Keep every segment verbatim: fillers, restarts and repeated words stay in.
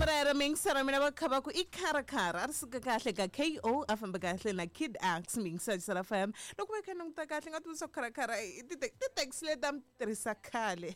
Rero mingisara mina va kha va ku i kharakhara a ri suka kahle ka K O a famba kahle na Kid Axe mingisara Sara F M loko va kha languta kahle nga tivisa kharakhara ti-taxi leti a mi tirhisa khale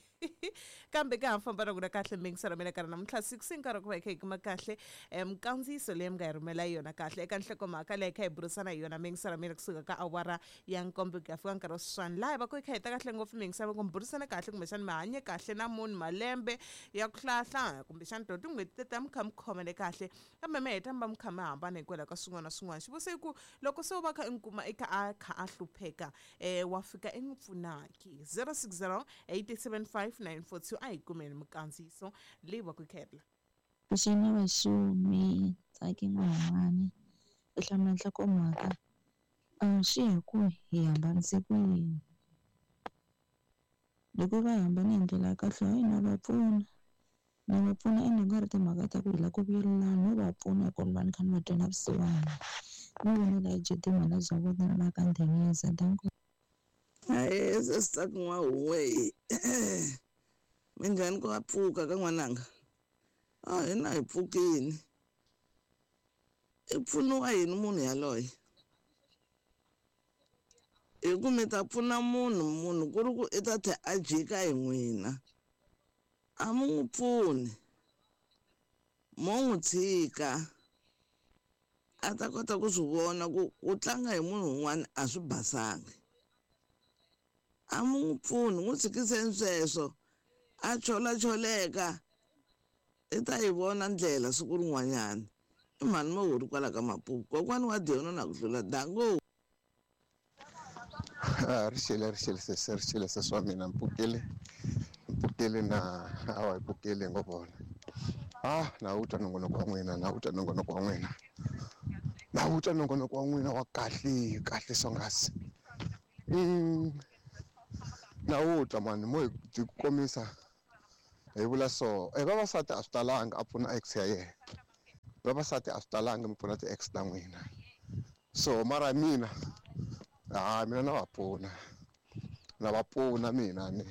kambe ka ha famba na ku na kahle mingisara mina karhi namuntlha six nkarhi ku va hi kha hi kuma kahle minkandziyiso leyi mi nga hi rhumela yona kahle eka nhlokomhaka leyi kha hi burisana hi yona mingisara mina kusuka ka awara ya nkombo ku ya fika nkarhi wa sweswiwani laha hi va ku hi kha hi ta kahle ngopfu mingisara ku mi burisana kahle kumbexani mi hanye kahle na munhu malembe ya ku hlayahlaya kumbexani to tin'hweti teta mi kha mi khomele kahle kambe mi heta mi va mi kha mi hambana hikwalaho ka swin'wana na swin'wana xivutiso i ku loko se u va kha i n'wi kuma i kha a kha a hlupheka um wa fika i n'wi pfunaki zero six zero eight seven five nine four two a hi kumeni minkandziyiso leyi va ku khela Vuxeni vaxumi Tsaki N'wahumani i hlamula nhlokomhaka swi ya hi ku hi hambanise ku yini loko va hambane hi ndlela ya kahle hayi na va pfuna na va pfuna ende ku nga ri timhaka ta ku hi lava ku vuyelelana no va pfuna hi ku ni va ni kha ni va twela vusiwana ni vonela hi J D mhana bya vona la ka Ndhengeza danko. Hayi sesi N'wahuwe minjhani ku nga pfuka ka n'wananga a hina hi pfukini i pfuniwa yini munhu yaloye hi ku mi ta pfuna munhu munhu ku ri ku i ta tlhela a jika hi n'wina a mi n'wi pfuni mo n'wi tshika a ta kota ku swi vona ku ku tlanga hi munhu un'wana a swi basangi a mi n'wi pfuni n'wi tshikiseni sweswo a chola-choleka i ta yi vona ndlela siku rin'wanyana i mhani mo huri kwala ka Mapupu kokwani wa Diona na ku hlula dango. A ri xile ri xile sesi ri xile sesi wa mina mpfukile mpfukile na awa hi pfukile ngo vona ah na wu twa nongonoko wa n'wina na wu twa nongonoko wa n'wina na wu twa nongonoko wa n'wina wa kahle kahle swonghasi mm na wu twa mani mo hi byi komisa hi vula so e vavasati a swi talanga a pfuna ex ya yena vavasati a swi talanga mi pfuna ti-ex ta n'wina so mara mina ha mina na va pfuna na va pfuna mina ni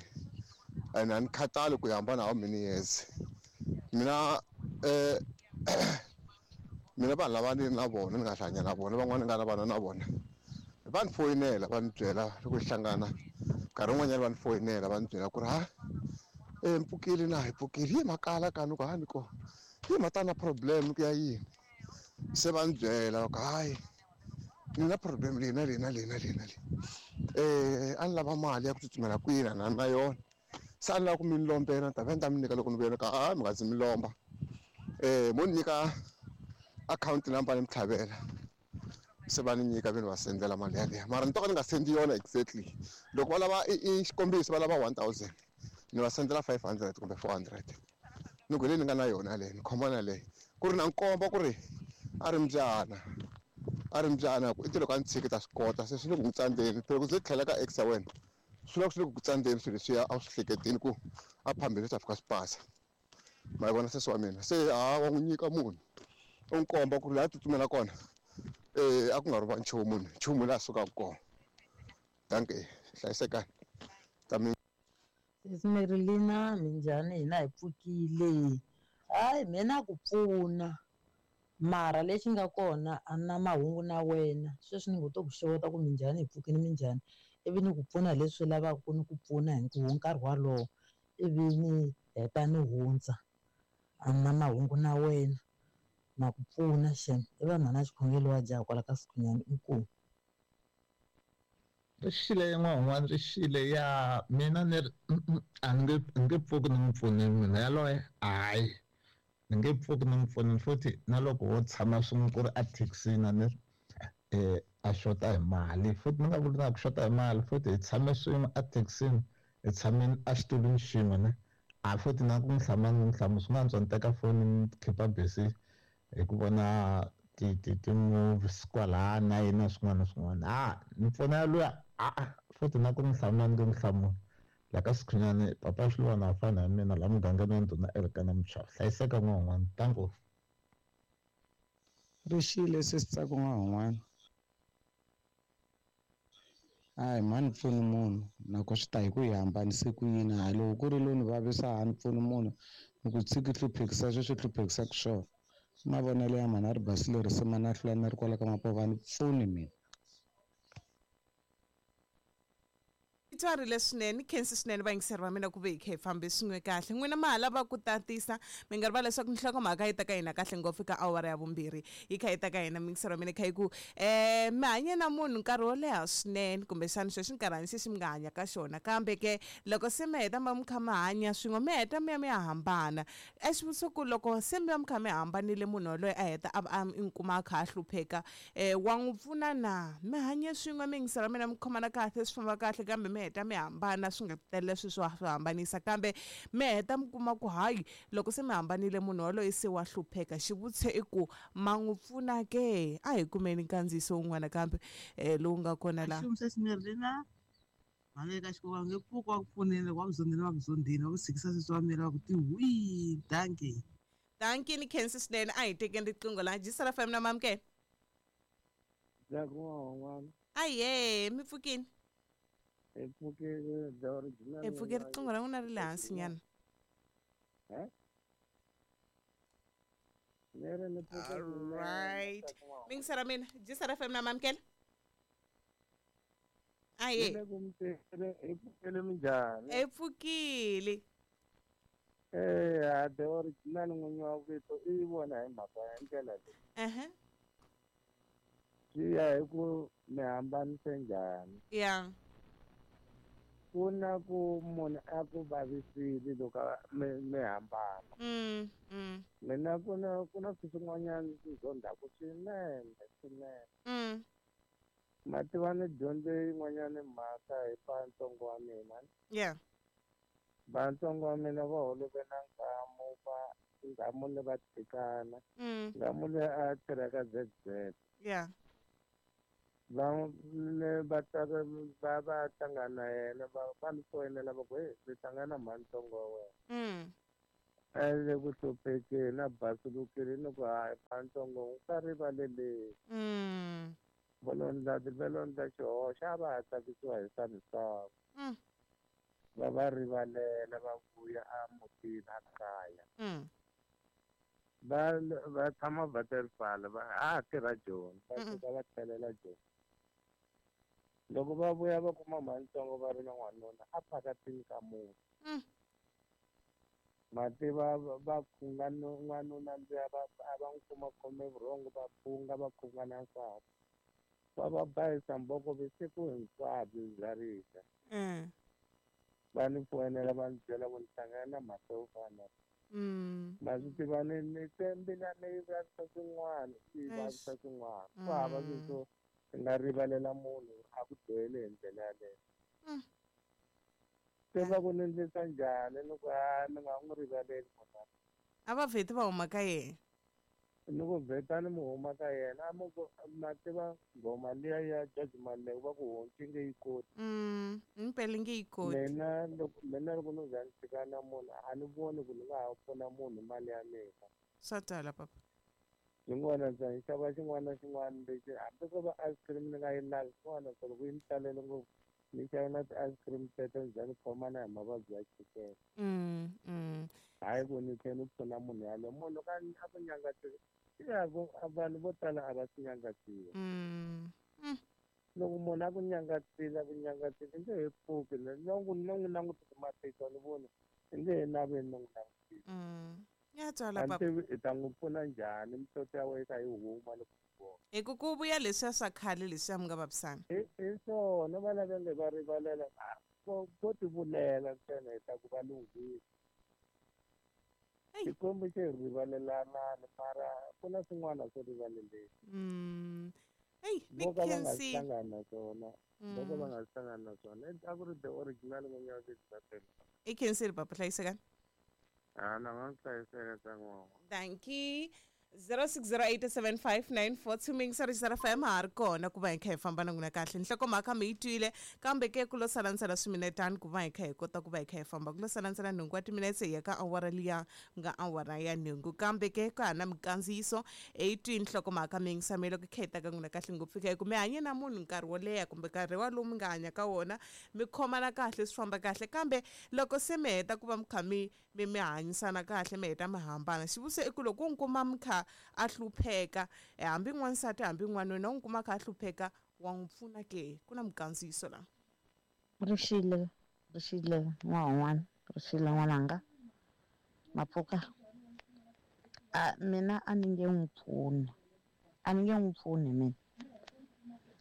ene a ni khathali ku hambana how many years mina eh mina vanhu lava ni na vona ni nga hlanya na vona van'wana ni nga na vana na vona va ni foyinela va ni byela loko hi hlangana nkarhi wun'wanyana va ni foyinela va ni byela ku ri ha e mpfukile na hi pfukile yi makala ka ni ku ha ni ko yi mata na problem ku ya yini se va ni byela va ku hayi ni na problem leyi na leyi na leyi na leyi na leyi eh a ni lava mali ya ku tsutsumela kwini na na yona se a ni lava ku mi ni lombela ni ta va ni ta mi nyika loko ni vuyela ka a mi nga zi mi lomba eh mo ni nyika akhawunti number ni mi tlhavela se va ni nyika ve ni va sendela mali yaleyo mara ni to ka ni nga sendi yona exactly loko va lava i xikombiso va lava one thousand ni va sendela five hundred kumbe four hundred ni ku leyi ni nga na yona leyi ni khoma na leyi ku ri na nkomba ku ri a ri mbyana a ri mbyana ku i ti loko a ni tshiki ta swi kota se swi le ku n'wi tsandzeni phela ku ze tlhela ka ex ya wena swi loko swi le ku ku tsandzeni swilo leswiya a wu swi hleketeni ku a phambili swi ta fika swi pasa ma yi vona sesi wa mina se ha wa n'wi nyika munhu u n'wi komba ku ri laha a tsutsumela kona eh a ku nga ri va nchumu munhu nchumu laha sukaka kona danke hlayisekani ta mi. Sesi Marilina minjhani hina hi pfukile hayi mina ku pfuna mara lexi nga kona a na mahungu na wena sweswi ni ngo to ku xeweta ku minjhani hi pfukile minjhani ivi ni ku pfuna hi leswi lavaka ku ni ku pfuna hi nkarhi wolowo ivi ni heta ni hundza a na mahungu na wena na ku pfuna xem i va mhana xikhongelo wa jaha kwala ka Sikhunyani inkomu. Ri xile n'wan'wana ri xile ya mina ni ri a ni nge ni nge pfuki ni n'wi pfunile mina yaloye hayi ni nge pfuki ni n'wi pfunile futhi na loko wo tshama swin'we ku ri a thekisini a ni ri eh a xota hi mali futhi ni nga vuli na ku xota hi mali futhi hi tshame swin'we a thekisini hi tshameni a xitulwini xin'we ne a futhi na ku n'wi hlamula ni n'wi hlamula swi nga antswa ni teka foni ni khipa busy hi ku vona ti ti ti-movies kwalaya na yini na swin'wana na swin'wana a ni pfuna luya a futhi na ku n'wi hlamula ni nge n'wi hlamuli la ka Sikhunyani papa Xilwana a fana na mina laha mugangeni wa ndhuna Elkana Muchava hlayiseka n'wan'wana tango. Ri xile sesi Tsaki n'wan'wana hayi mhani pfuni munhu nako swi ta hi ku hi hambanise ku yini hayi loko ku ri lowu ni vavisa a ni pfuni munhu Ni ku tshiki hluphekisa sweswi hluphekisaka swona. Mavonelo ya mhani a ri basile risimu na hlula ni ri kwala ka Mapova a ni pfuni mina. Twarile swinene khensi swinene vayingiseri va mina ku ve hi kha hi fambe swin'we kahle n'wina ma ha lava ku tatisa mi nga rivali leswaku nhlokomhaka yi ta ka hina kahle ngopfu ka awara ya vumbirhi yi kha yi ta ka hina miyingiseri wa mina kha yi ku um mi hanye na munhu nkarhi wo leha swinene kumbexana sweswi nkarhani xexi mi nga hanya ka xona kambe ke loko se mi heta mi va mi kha mi hanya swin'we mi heta mi ya mi ya hambana e xivutiso ku loko se mi va mi kha mi hambanile munhu yaloye a heta a a mi kuma a kha a hlupheka um wa n'wi pfuna na mi hanye swin'we miyingiseri wa mina mi khomana kahle swi famba kahle kambe mi heta mi hambana swi nga tele swilo swo swi hambanisa kambe mi heta mi kuma ku hayi loko se mi hambanile munhu yaloye se wa hlupheka xivutiso i ku ma n'wi pfuna ke a hi kumeni nkandziyiso wun'wana kambe um lowu nga kona laha Axumsesimirina mhani ka xikwembu nge pfuki wa ku pfunile wa ku zondzile wa ku zondzile wa ku tshikisa sweswi wa miri wa ku ti hwi dankie dankie ni khensi swinene a hi tekeni riqingho laha Jisara F M na mamukela aye mi pfukini hi pfukile the original hi pfuke riqingho ra n'wina ri le hansi nyana alright mingisera mina Jisara F M na mamukela aye hi pfukile minjhani hi pfukile eh the original n'winyi wa vito i vona hi mhaka ya ndlela leyi ehe swi ya hi ku mi hambanise njhani ya ku na ku munhu a ku vavisile loko mi mi hambana mm mm mina ku na ku na swilo swin'wanyana swi zondaku swinene swinene mm ma tiva ni dyondze yin'wanyana mhaka hi vantsongo wa mina yeah vantsongo wa mina va holove na nghamu va nghamu le va tshikana mm nghamu le a tirha ka Z Z yeah va le va ta va va hlangana na yena va va ni foyinela va ku hey mi hlangana mhani ntsongo wa wena mm a le ku hluphekeni na basulukile ni ku hayi mhani ntsongo u nga rivaleleni mm va lo ndla va lo ndla xihoxo a va ha tsakisiwa hi swa misava mm va va rivalela va vuya a mutini a kaya mm va va tshama Waterfall va ha tirha Joni va Mm. suka va tlhelela Joni loko va vuya va kuma mhani ntsongo va ri na n'wanuna a phakatini ka muti Mm. ma tiva va phunga n'wanuna luya va a va n'wi kuma khome vurhongo va phunga va phunga na nsati va va bayisa mboko vusiku hinkwabyo bya rixa mm va ni foyinela va ni byela ku ni hlangana na mhaka yo fana mm ma swi tiva ni ni twe mbilu yi vavisa swin'wana yi vavisa swin'wana ku hava swilo swo i nga rivalela munhu a ku dyohele hi ndlela yaleyo Mm. se va ku ni endlisa njhani ni ku hayi ni nga n'wi rivaleli munhu a va vheti va huma ka yena ni ku vhetani mi huma ka yena a mi ku ma tiva nghoma liya ya George Maluleke va ku honci nge yi koti mm impela nge yi koti mina loko mina loko no za ni tshika na munhu a ni voni ku ni nga ha pfuna munhu mali ya mina swa twala papa xin'wana ndza ni xava xin'wana na xin'wana lexi hambi ko va ice cream ni nga yi lavi xin'wana so loko yi ni talele ngopfu ni xava na ti-ice cream teto ni za ni khomana hi mavabyi ya chukele mm mm hayi ku ni tlhela ni pfuna munhu yaloye munhu ka a ku nyangatsile ya ku vanhu vo tala a va swi nyangatsiwa mm loko munhu a ku nyangatsile a ku nyangatsile i nge he pfuki no no n'wi langutisa matihlo ni voni i nge he naveli no n'wi langutisa mm ya twala a ni papa tivi i ta n'wi pfuna njhani mihloti ya wena yi kha yi huma loko u vona hi ku ku vuya leswiya swa khale leswiya mi nga vavisana hi hi swona va lava nge va rivalela a vo vo tivulela ntsena hi ta ku va lunghile Eyi. Xikwembu xi hi rivalelanani mara ku na swin'wana swo rivaleleni mm eyi ni vo ka va nga khensi hlangani na swona vo ka va mm nga hlangani na swona a ku ri the original n'winyi wa vito i khensile papa hlayisekani a na nga hlayiseka tsan'wana dankie zero six zero eight seven five nine four two mingisari xi F M ha ri kona ku va hi kha hi famba na n'wina kahle. Nhlokomhaka mi yi twile, kambe ke ku lo sala ntsena swiminetani ku va hi kha hi kota ku va hi kha hi famba. Ku lo sala ntsena nhungu wa timinetse hi ya ka awara liya nga awara ya nhungu, kambe ke ka ha na mikandziyiso. Hi twini nhlokomhaka mi yingisamile ku kha hi ta ka n'wina kahle ngopfu ka hi ku mi hanye na munhu nkarhi wo leha kumbe nkarhi walowu mi nga hanya ka wona, mi khomana kahle, swi famba kahle, kambe loko se mi heta ku va mi kha mi mi mi hanyisana kahle, mi heta mi hambana, xivutiso i ku loko u n'wi kuma mi kha a hlupheka, eh, hambi n'wansati hambi n'wanuna, u n'wi kuma a kha a hlupheka, wa n'wi pfuna ke? Ku na mikandziyiso la. Rixile, rixile n'wan'wana, rixile n'wananga, mapfuka. A mina a ni nge n'wi pfuni, a ni nge n'wi pfuni mina.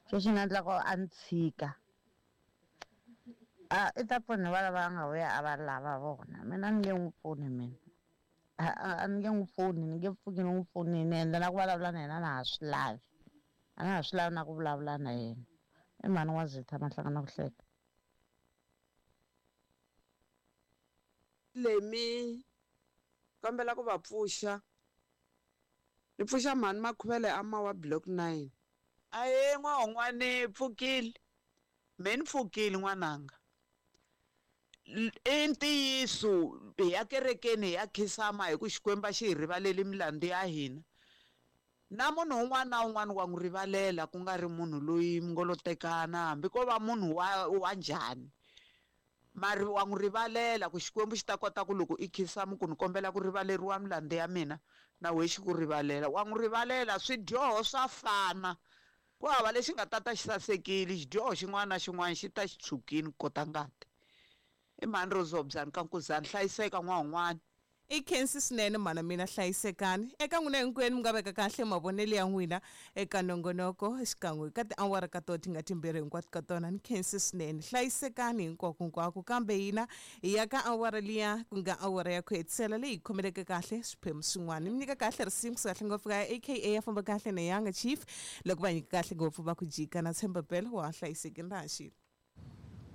Sweswi nga endla ku a ni tshika. A i ta pfuna va lava nga vuya a va lava vona. Mina a ni nge n'wi pfuni mina. A a a ni nge n'wi pfuni, ni nge pfuki ni n'wi pfunile, ende na ku vulavula na yena a na ha swi lavi. A na ha swi lavi na ku vulavula na yena. I mhani wa Zitha Mahlangana ku hleka. Lemi kombela ku va pfuxa. Ni pfuxa mhani Makhuvele a Mawa block nine. Ahe n'wan'wani pfukile. Me ni pfukile n'wananga. I ntiyiso hi ya kerekeni hi ya khinsama hi ku Xikwembu a xi hi rivaleli milandzu ya hina. Na munhu un'wana na un'wana wa n'wi rivalela, ku nga ri munhu loyi mi ngo lo tekana, hambi ko va munhu wa wa njhani. Mari wa n'wi rivalela ku Xikwembu xi ta kota ku loko i khinsama ku ni kombela ku rivaleriwa milandzu ya mina, na wehe xi ku rivalela. Wa n'wi rivalela, swidyoho swa fana. Ku hava lexi nga ta ta xi sasekile, xidyoho xin'wana na xin'wana xi ta xi tshwukile ku kota ngati. I mhani Rozobyani ka Nkuzani, hlayiseka n'wan'wana. I khensi swinene mhana mina, hlayisekani eka n'wina hinkwenu mi nga veka kahle mavonelo ya n'wina eka nongonoko xikan'we ka tiawara ka tona ti nga timbirhi hinkwato ka tona. Ni khensi swinene, hlayisekani hinkwako hinkwako, kambe hina hi ya ka awara liya ku nga awara ya ku hetisela leyi hi khomeleke kahle swiphemu swin'wana. Mi nyika kahle risimu kusuka kahle ngopfu ka A K A ya famba kahle na Yanga Chief, loko va nyika kahle ngopfu va ku jika na tshemba pela wa hlayisekini ra ha xile.